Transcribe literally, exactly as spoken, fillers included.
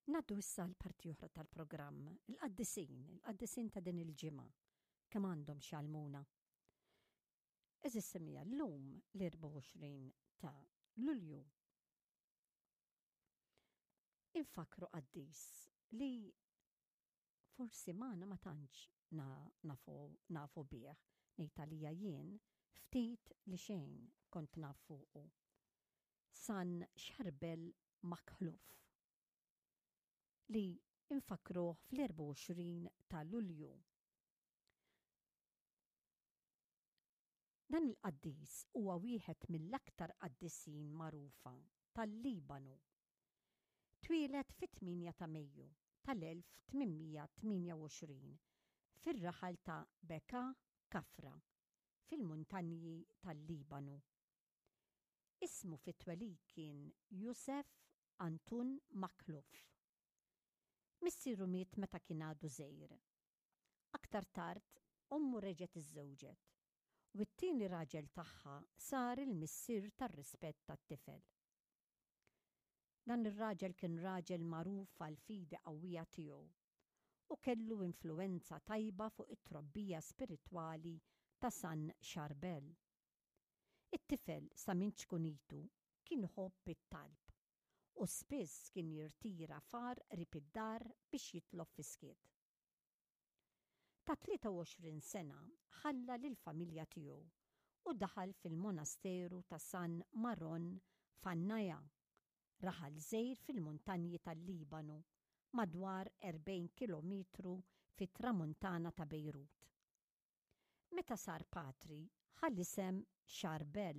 Ngħaddu issa l-parti oħra tal-programm, il-qaddisin, il-qaddisin ta' din il-ġimgħa, kemm għandhom x'jgħallmuna. Għeżież semmiegħa, llum l-erbgħa u għoxrin ta' Lulju infakkru qaddis li forsi magħna ma tantx nafu, nafu bih, ngħid għalija jien ftit li xejn kont naf fuqu. San Xarbel Makhluf li infakkruh fl-erbgħa u għoxrin ta' Lulju. Dan il-qaddis huwa wieħed mill-aktar qaddisin magħrufa tal-Libanu. Twieled fit-tmienja ta' Mejju tal-elf tmien mija tmienja u għoxrin fir-raħal ta' Beka Kafra fil-muntanji tal-Libanu. Ismu fit-twelid kien Josef Antun Makhluf. Missieru miet meta kien għadu żgħir. Aktar tard, ommu reġgħet iżżewġet u t-tieni raġel tagħha sar il-missier tar-rispett tat-tifel. Dan ir-raġel kien raġel magħruf għall-fidi qawwija tiegħu u kellu influwenza tajba fuq it-trobbija spiritwali ta' San Xarbel. It-tifel sa minn ċkunitu kien iħobb it-talb u spiss kien jirtira f'għar qrib id-dar biex jitlob fis-skiet. Ta' tlieta u għoxrin sena ħalla lill-familja tiegħu u daħal fil-monasteru ta' San Maron f'Annaja, raħal żgħir fil-muntanji tal-Libanu, madwar erbgħin kilometru fit-tramuntana ta' Bejrut. Meta sar patri, ħa l-isem Xarbel.